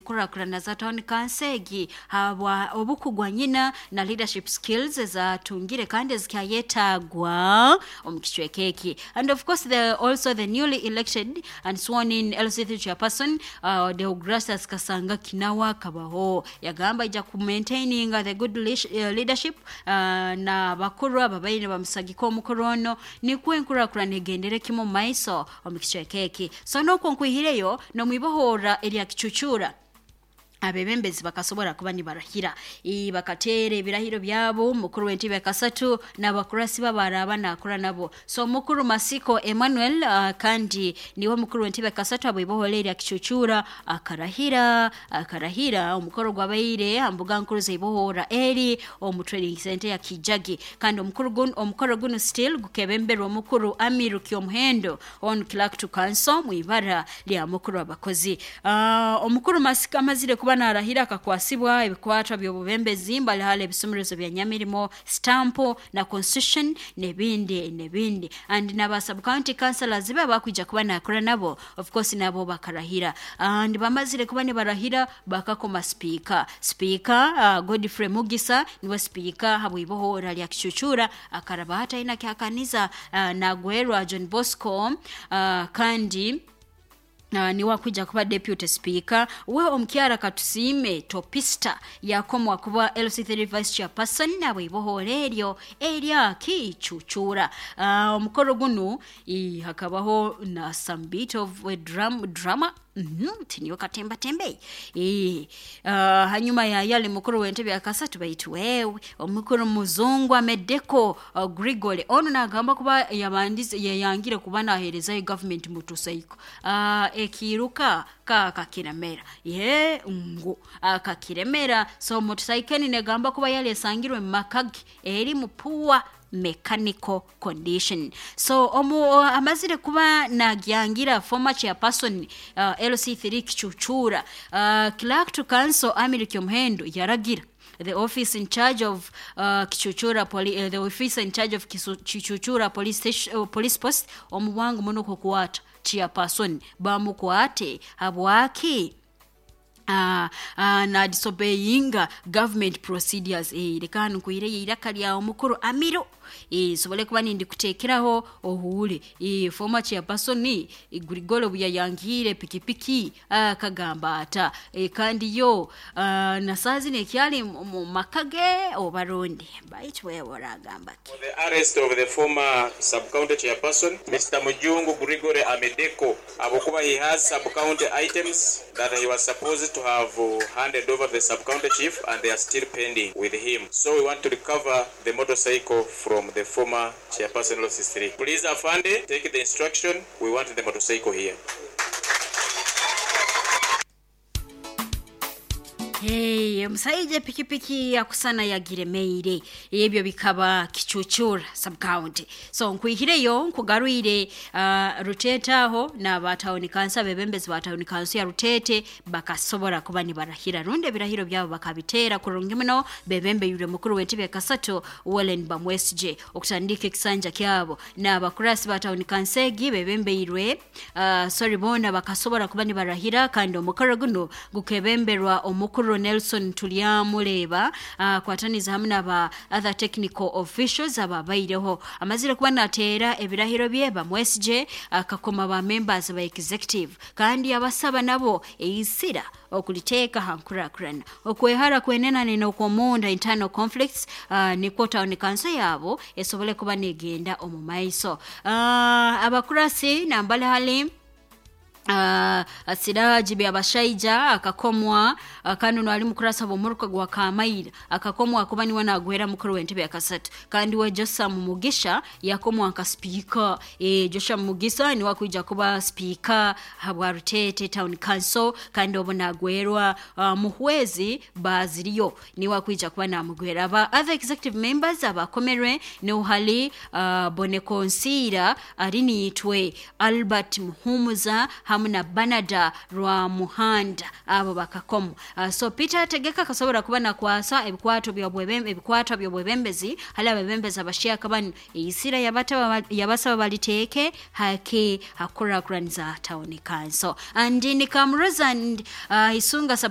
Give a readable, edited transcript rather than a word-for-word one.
Nkurakurana za town council egi habwa obukugwa nyina na leadership skills ezatungire kandi ezikyayetagwa omu kicweka eki. And of course the also the newly elected and sworn in LC3 chairperson, Deogratias Kasanga Kinawa, kabaho yagamba ija ku maintaining the good leadership na bakuru ababaire bamusagika omukuru ono, nikwo enkurakurana egendere kimu mu maiso omu kicweka eki. So nokwo nkwihireyo nomwibohora erya Kicucura, abebembezi bakasobora kuba nibarahira, bakateera ebirahiro byabo, mukuru w'entebe kasatu n'abakurasi babaraba nakura nabo. So mukuru Masiko Emmanuel, kandi niwe mukuru w'entebe kasatu abwibohora erya Kicucura, akarahira omukoro gwabaire ambuga nkuru zaibohora eri omu training center ya Kijagi. Kandi omukoro guno still gukebemberwa omukuru Amiru Kyomuhendo on clerk to council mwibara lya mukuru abakozi. Omukuru Masiko amazire kuba narahira akakwasibwa ebikwatwa by'obubembezi mbali ebisumurizo bya Nyamirimo, stamp na constitution nebindi nebindi. And naba sub county councillors be bakwija kuba nakora nabo, of course nabo bakarahira. And bamazire kuba nibarahira bakakoma speaker, Godfrey Mugisa niwe speaker habwibohora lya Kicucura, akaraba hata ina kyakaniza nagwerwa John Bosco, kandi niwe akuja kuba deputy speaker. We omukyara Katusime Topista yakomwa kuba LC3 vice chairperson nabwibohora eryo erya Kicucura. Omukoro gunu hakabaho na some bit of a drama. Tiniwe katemba tembe. Hanyuma ya yale mukuru w'entebe ya kasatu baitu wewe omukuru muzungu Amedeko Grigore ono nagamba kuba yabandize yayangire kuba naherezayo government motorcycle. Ekiruka ka kakiremera ye ngu kakiremera. So motorcycle negamba kuba yale sangirwe makagi eri mupuwa mechanical condition. So omu amazire kuba nagyangira former chairperson, LC3 Kicucura, clerk to council Amiri Kyomuhendo yaragira the office in charge of Kichuchura the office in charge of Kichuchura police station, police post omuwangu muno kukwata chairperson bamukwate habwaki na disobeyinga government procedures. Leka nkuire iraka lya omukuru Amiro, sobole kuba nindi kutekeraho ohuule. Former chairperson Grigolo buyayangire pikipiki, akagamba ata, kandi yo nasazi nekyali mu makage obarundi baitu wewe oragamba ki? For the arrest of the former sub-county chairperson Mr. Mujungu Grigore Amedeko, abokuba he has sub-county items that he was supposed to have handed over the sub-county chief and they are still pending with him. So we want to recover the motorcycle from the former chairperson of C3. Please, Afande, take the instruction. We want the motorcycle here. Hey, omusajja pikipiki yakusana yagiremeire ebyo bikaba Kicucura sub-county. So nkwihireyo nkugarwire Rutete aho n'aba town council, abebembezi ba town council ya Rutete bakasobora kuba nibarahira rundi ebirahiro byabo bakabiteera kurungi muno bebembeyire mukuru w'entebe kasatu Wallen Bamwesije okutandika ekisanja kyabo. N'abakurasi ba town council egi bebembeirwe, sorry, bona bakasobora kuba nibarahira kandi omukoro guno gukebemberwa omukuru Nelson Tulyamuleba, kwataniza hamwe n'aba other technical officials ababaireho. Amazire kuba nateera ebirahiro bye Bamwesije akakoma ba members ba executive kandi abasaba nabo eisira okuliteeka hankurakurana okwehara kwenena n'okwomunda internal conflicts, nikwo town council yabo esobole kuba negenda omu maiso. Abakurasi nambale hali Siraji Byabashaija akakomwa, kandi ono ali mukurasa bw'omuruka gwa Kamaira akakomwa kuba niwe nagwera mukuru w'entebe ya kasatu. Kandi we Joshua Mugisha yakomwa nka speaker. Joshua Mugisa niwe akuija kuba speaker habwa Rutete Town Council kandi obo nagwerwa Muhwezi Baziriyo niwe akuija kuba namugwera. Aba other executive members abakomerwe ni uhali Bonekonsira Arinitwe, Albert Muhumuza hamwe na Banada rwa Muhanda, abo bakakomo. So Peter Tegeka kasobora kuba nakwasa ebikwato ebikwato by'obwebembezi hali abebembezi abashyaka bano eisira yabasaba baliteeke hake hakurakuraniza town council. And ni Kamroza and Isunga sub